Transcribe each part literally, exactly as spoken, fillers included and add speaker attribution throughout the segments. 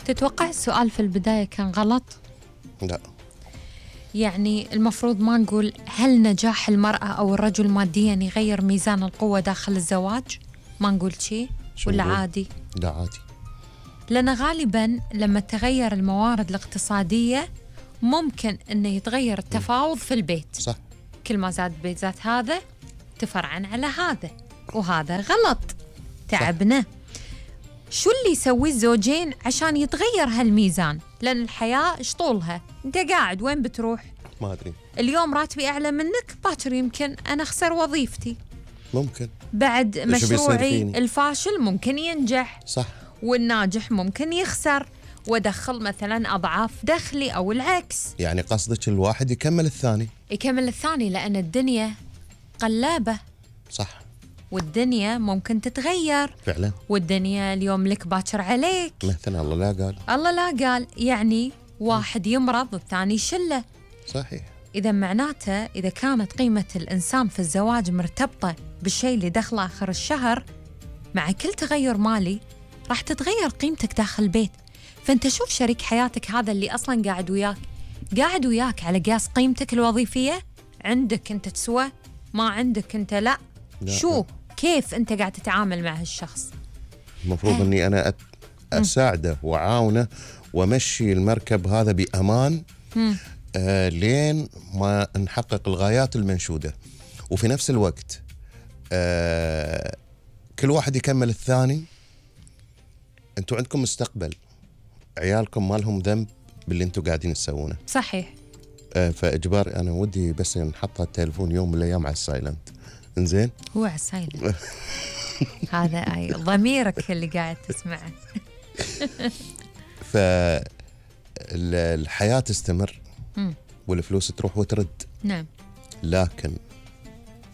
Speaker 1: تتوقع السؤال في البداية كان غلط؟
Speaker 2: لا.
Speaker 1: يعني المفروض ما نقول هل نجاح المرأة أو الرجل ماديا يغير ميزان القوة داخل الزواج؟ ما نقول شيء ولا
Speaker 2: نقول؟
Speaker 1: عادي؟
Speaker 2: لا عادي.
Speaker 1: لأن غالبا لما تغير الموارد الاقتصادية ممكن أنه يتغير التفاوض في البيت.
Speaker 2: صح.
Speaker 1: كل ما زاد بيت زاد هذا تفرعن على هذا، وهذا غلط. تعبنا. شو اللي يسويه الزوجين عشان يتغير هالميزان؟ لأن الحياة ايش طولها؟ انت قاعد وين بتروح؟
Speaker 2: ما أدري.
Speaker 1: اليوم راتبي أعلى منك، باكر يمكن أنا أخسر وظيفتي،
Speaker 2: ممكن
Speaker 1: بعد مشروعي الفاشل ممكن ينجح.
Speaker 2: صح.
Speaker 1: والناجح ممكن يخسر وادخل مثلا أضعاف دخلي أو العكس.
Speaker 2: يعني قصدك الواحد يكمل الثاني؟
Speaker 1: يكمل الثاني، لأن الدنيا قلابة.
Speaker 2: صح.
Speaker 1: والدنيا ممكن تتغير
Speaker 2: فعلا.
Speaker 1: والدنيا اليوم لك باكر عليك.
Speaker 2: مثلا الله لا قال.
Speaker 1: الله لا قال. يعني واحد يمرض والثاني يشله.
Speaker 2: صحيح.
Speaker 1: إذا معناته إذا كانت قيمة الإنسان في الزواج مرتبطة بالشيء اللي دخله آخر الشهر، مع كل تغير مالي راح تتغير قيمتك داخل البيت. فأنت شوف شريك حياتك هذا اللي أصلاً قاعد وياك قاعد وياك على قياس قيمتك الوظيفية، عندك أنت تسوى، ما عندك أنت لا, لا. شو كيف أنت قاعد تتعامل مع هالشخص؟
Speaker 2: المفروض أني أنا أساعده وعاونه ومشي المركب هذا بأمان آه لين ما نحقق الغايات المنشودة. وفي نفس الوقت آه كل واحد يكمل الثاني. أنتوا عندكم مستقبل، عيالكم ما لهم ذنب باللي أنتوا قاعدين تسوونه.
Speaker 1: صحيح.
Speaker 2: آه فإجباري أنا ودي بس نحط التليفون يوم من الأيام على السايلنت. إنزين؟
Speaker 1: هو على السايلنت. هذا أي ضميرك اللي قاعد تسمعه.
Speaker 2: فالحياة تستمر والفلوس تروح وترد.
Speaker 1: نعم.
Speaker 2: لكن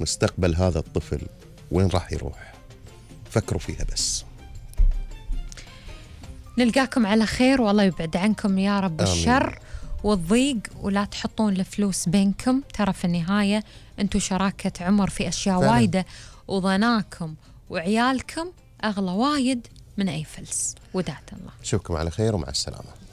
Speaker 2: مستقبل هذا الطفل وين راح يروح؟ فكروا فيها بس.
Speaker 1: نلقاكم على خير والله يبعد عنكم يا رب الشر والضيق، ولا تحطون الفلوس بينكم. ترى في النهاية أنتوا شراكة عمر في أشياء فعلا. وايدة، وظناكم وعيالكم أغلى وايد من أي فلس. ودعت الله.
Speaker 2: نشوفكم على خير ومع السلامة.